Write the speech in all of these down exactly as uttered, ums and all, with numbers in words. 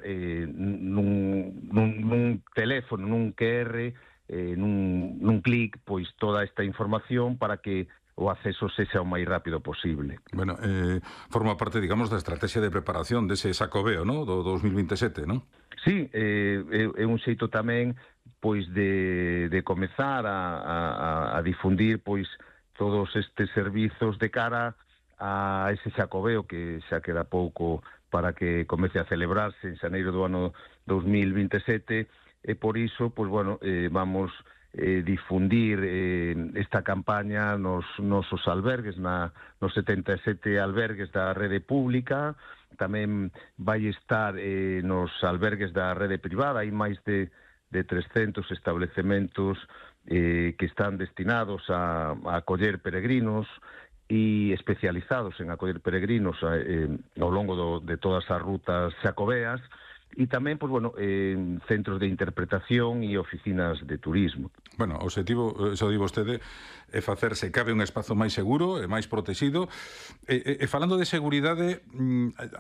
eh, nun, nun, nun teléfono, nun Q R, eh, nun, nun clic, pois toda esta información para que o acceso sexa o máis rápido posible. Bueno, eh, forma parte, digamos, da estrategia de preparación dese Xacobeo, ¿no?, do dos mil veintesete, non? Sí, eh, é, é un xeito tamén pois de, de comezar a, a, a difundir pois todos estes servizos de cara a ese Xacobeo que xa queda pouco para que comece a celebrarse en xaneiro do ano dos mil veintesete, e por iso, pois bueno, eh, vamos eh, difundir eh, esta campaña nos nosos albergues, na, nos setenta e sete albergues da rede pública. Tamén vai estar eh, nos albergues da rede privada. Hai máis de, de trescentos establecementos eh, que están destinados a, a acoller peregrinos e especializados en acoller peregrinos eh, ao longo do, de todas as rutas xacobeas. E tamén, pois, bueno, eh, centros de interpretación e oficinas de turismo. Bueno, o objetivo, eso di vostede, é facerse cabe un espazo máis seguro e máis protegido. E, e, e falando de seguridade,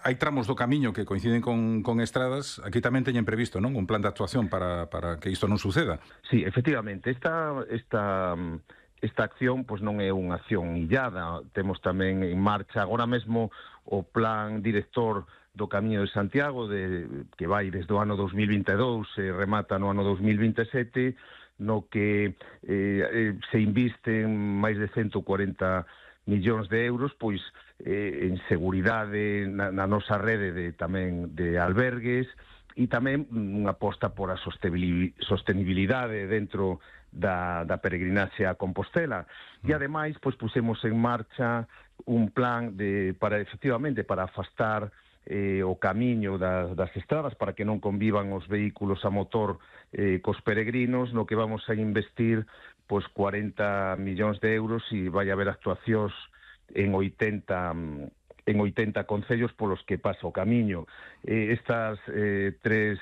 hai tramos do camiño que coinciden con, con estradas. Aquí tamén teñen previsto, non, un plan de actuación para, para que isto non suceda. Sí, efectivamente, esta... esta Esta acción pois non é unha acción illada. Temos tamén en marcha agora mesmo o plan director do Camiño de Santiago, de, que vai desde o ano dos mil vinte e dous e remata no ano dos mil veintesete, no que eh, se invisten máis de ciento cuarenta millóns de euros pois eh, en seguridade na, na nosa rede de, tamén de albergues, e tamén unha aposta por a sostenibilidade dentro da, da peregrinaxe a Compostela. E ademais, pois pusemos en marcha un plan de para efectivamente para afastar eh, o camiño das, das estradas, para que non convivan os vehículos a motor eh, cos peregrinos, no que vamos a investir pois cuarenta millóns de euros, e vai haber actuacións en oitenta en oitenta concellos polos que pasa o camiño. Eh, estas eh, tres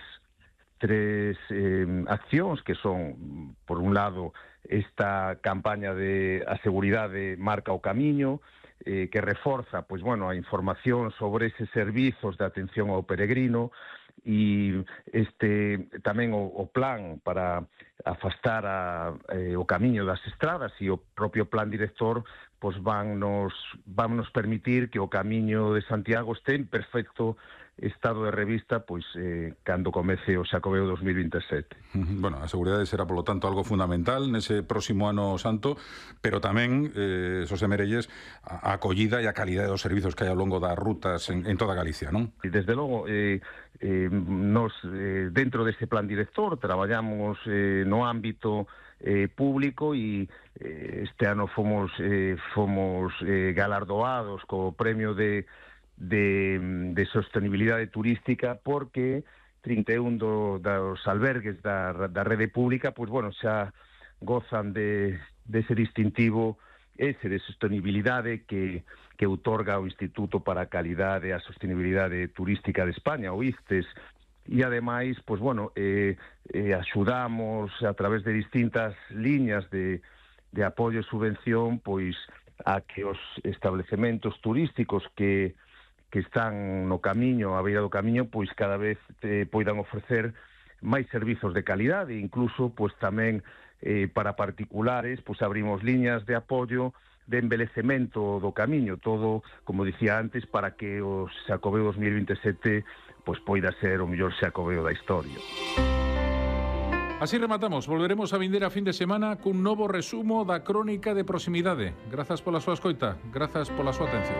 tres eh, accións que son, por un lado, esta campaña de a seguridade marca o camiño, eh, que reforza, pois bueno, a información sobre eses servizos de atención ao peregrino, e este tamén o, o plan para afastar a, eh, o camiño das estradas, e o propio plan director pois van nos, van nos permitir que o camiño de Santiago este en perfecto estado de revista pois eh, cando comece o Xacobeo dos mil veintesete. Bueno, a seguridade será, polo tanto, algo fundamental nese próximo ano santo, pero tamén, eh, Xosé Merelles, a acollida e a calidade dos servizos que hai ao longo das rutas en, en toda Galicia, non? E desde logo, eh, eh, nos, eh, dentro deste plan director, traballamos eh, no ámbito eh, público, e eh, este ano fomos, eh, fomos eh, galardoados co premio de De, de sostenibilidade turística, porque trinta e un do, dos albergues da, da rede pública pois bueno, xa gozan de, de ese distintivo ese de sostenibilidade que, que outorga o Instituto para a Calidade e a Sostenibilidade Turística de España, o I C T E S, e ademais, pois bueno, eh, eh, axudamos a través de distintas liñas de, de apoio e subvención pois a que os establecementos turísticos que que están no camiño, a beira do camiño, pois cada vez eh, poidan ofrecer máis servizos de calidade, incluso pois tamén eh, para particulares, pois abrimos liñas de apoio de embelecemento do camiño, todo, como dicía antes, para que o Xacobeo dos mil veintesete pois poida ser o mellor Xacobeo da historia. Así rematamos. Volveremos a vindeira fin de semana cun novo resumo da crónica de proximidade. Grazas pola súa escoita, grazas pola súa atención.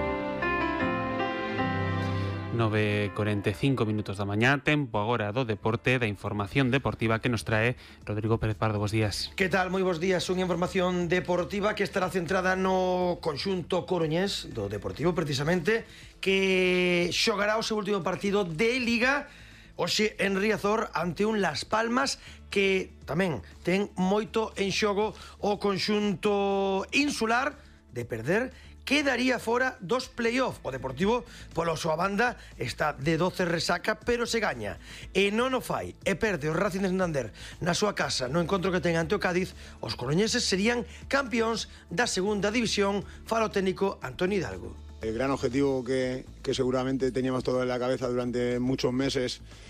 nove e corenta e cinco minutos da mañá, tempo agora do deporte, da información deportiva que nos trae Rodrigo Pérez Pardo. Bos días. Que tal? Moi bos días. Unha información deportiva que estará centrada no conxunto coruñés do Deportivo, precisamente, que xogará o seu último partido de Liga hoxe en Riazor ante un Las Palmas que tamén ten moito en xogo o conxunto insular. De perder, quedaría fora dos play-off. O Deportivo, pola súa banda, está de doce resaca, pero se gaña e non o fai e perde o Racing de Santander na súa casa no encontro que ten ante o Cádiz, os coruñeses serían campións da segunda división. Fala o técnico Antonio Hidalgo. El gran objetivo que, que seguramente teníamos todo en la cabeza durante muchos meses